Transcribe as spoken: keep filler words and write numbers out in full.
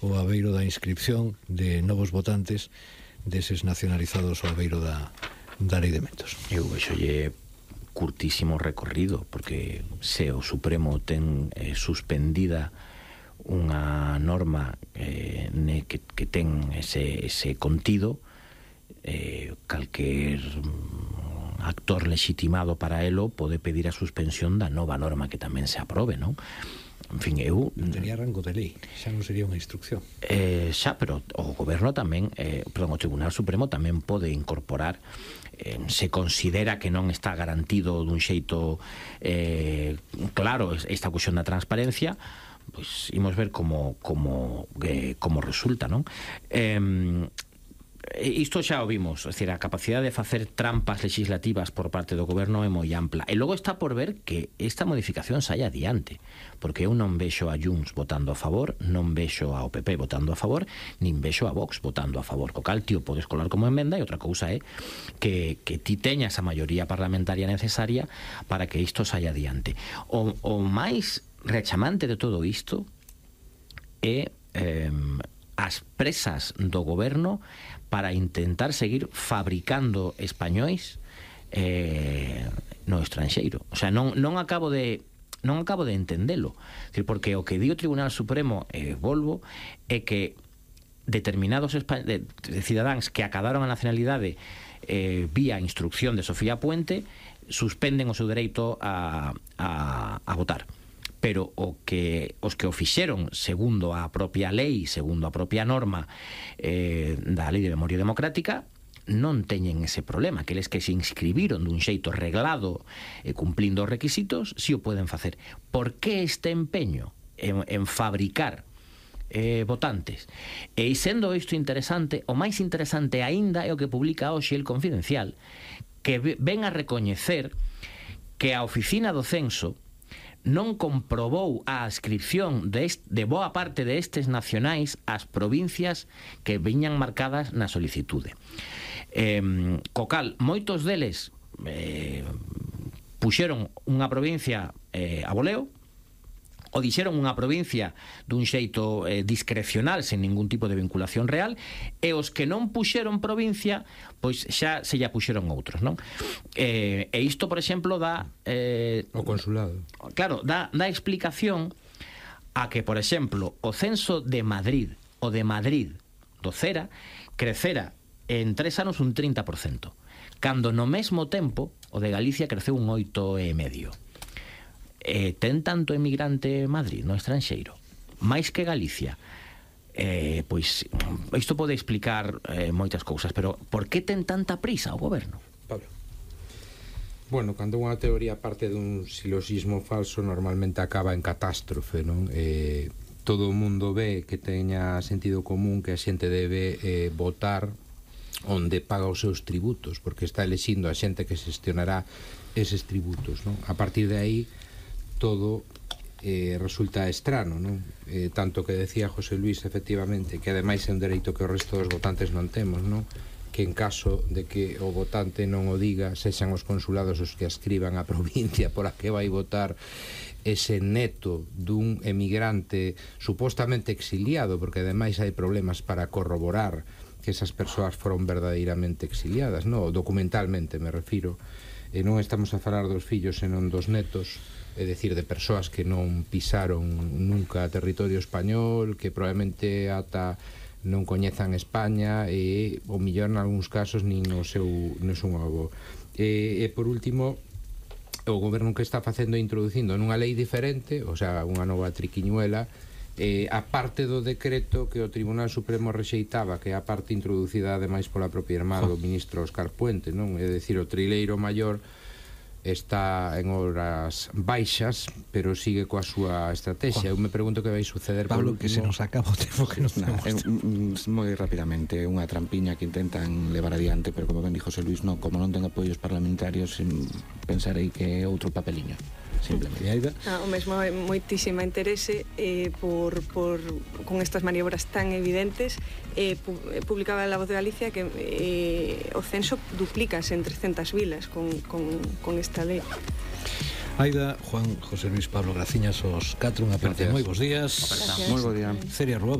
o abeiro da inscripción de novos votantes deses nacionalizados ao abeiro da, da lei de metos. Eu vexolle curtísimo recorrido, porque se o Supremo ten eh, suspendida unha norma eh, ne, que, que ten ese, ese contido, eh, calquer actor legitimado para elo pode pedir a suspensión da nova norma que tamén se aprobe, non? En fin, eu... Tería rango de lei, xa non sería unha instrucción. Eh, xa, pero o goberno tamén, eh, perdón, o Tribunal Supremo tamén pode incorporar, eh, se considera que non está garantido dun xeito eh, claro esta cuestión da transparencia, pois imos ver como como eh, como resulta, non? Eh, isto xa o vimos, é dicir, a capacidade de facer trampas legislativas por parte do goberno é moi ampla. E logo está por ver que esta modificación saia adiante, porque eu non vexo a Junts votando a favor, non vexo ao P P votando a favor, nin vexo a Vox votando a favor. Co cal, tío, podes colar como emenda, e outra cousa é que, que ti teñas a maioría parlamentaria necesaria para que isto saia adiante. O, o máis rechamante de todo isto é eh, as presas do goberno para intentar seguir fabricando españois eh, no estranxeiro. O sea, non, non acabo de non acabo de entendelo. Decir, porque o que di o Tribunal Supremo, eh, volvo, é que determinados espa- de, de cidadáns que acadaron a nacionalidade eh, vía instrucción de Sofía Puente suspenden o seu dereito a, a, a votar. Pero o que os que o fixeron segundo a propia lei, segundo a propia norma eh, da Lei de Memoria Democrática, non teñen ese problema, que eles que se inscribiron dun xeito reglado e eh, cumplindo os requisitos, si o poden facer. Por que este empeño en, en fabricar eh, votantes? E sendo isto interesante, o máis interesante aínda é o que publica hoxe El Confidencial, que ven a recoñecer que a Oficina do Censo non comprobou a adscripción de, est, de boa parte de estes nacionais ás provincias que viñan marcadas na solicitude. Eh, co cal, moitos deles eh, puxeron unha provincia eh, a voleo, o dixeron unha provincia dun xeito eh, discrecional, sen ningún tipo de vinculación real, e os que non puxeron provincia, pois xa se lla puxeron outros, non? Eh, e isto, por exemplo, dá... Eh, o consulado. Claro, dá, dá explicación a que, por exemplo, o censo de Madrid, o de Madrid do Cera, crecera en tres anos un trinta por cento, cando no mesmo tempo o de Galicia creceu un oito e medio. Eh, ten tanto emigrante Madrid no estranxeiro, máis que Galicia, eh, pois isto pode explicar eh, moitas cousas, pero por que ten tanta prisa o goberno? Pablo. Bueno, cando unha teoría parte dun siloxismo falso, normalmente acaba en catástrofe, non? Eh, todo o mundo ve que teña sentido común que a xente debe eh, votar onde paga os seus tributos, porque está elexindo a xente que xestionará eses tributos, non? A partir de aí todo eh, resulta estrano, non? Eh, tanto que decía José Luis, efectivamente, que ademais é un dereito que o resto dos votantes non temos, non? Que en caso de que o votante non o diga, sexan os consulados os que ascriban a provincia por a que vai votar ese neto dun emigrante supostamente exiliado, porque ademais hai problemas para corroborar que esas persoas foron verdadeiramente exiliadas, non? Documentalmente me refiro, e non estamos a falar dos fillos senón dos netos, é dicir, de persoas que non pisaron nunca territorio español, que probablemente ata non coñezan España e o millor en algúns casos nin o seu non son avó. E, e por último, o goberno que está facendo é introducindo nunha lei diferente, o sea, unha nova triquiñuela, eh, a parte do decreto que o Tribunal Supremo rexeitaba, que é a parte introducida ademais pola propia irmá do ministro Óscar Puente, non? É dicir, o trileiro maior está en horas baixas, pero sigue coa súa estrategia. Eu me pregunto que vai suceder. Pablo, que se nos acaba o tempo que nos nah, eh, moi rapidamente, unha trampiña que intentan levar adiante, pero como ben dixo José Luis, no, como non ten apoios parlamentarios, pensarei que é outro papeliño, simplemente. Ah, o mesmo é moitísima interese eh, por, por con estas maniobras tan evidentes. eh, pu publicaba La Voz de Galicia que eh, o censo duplícase en trescentas vilas con, con, con esta lei. Aida, Juan, José Luis, Pablo, graciñas os catro, unha parte moi bons días. Moi bo día. Celia Rúa, bos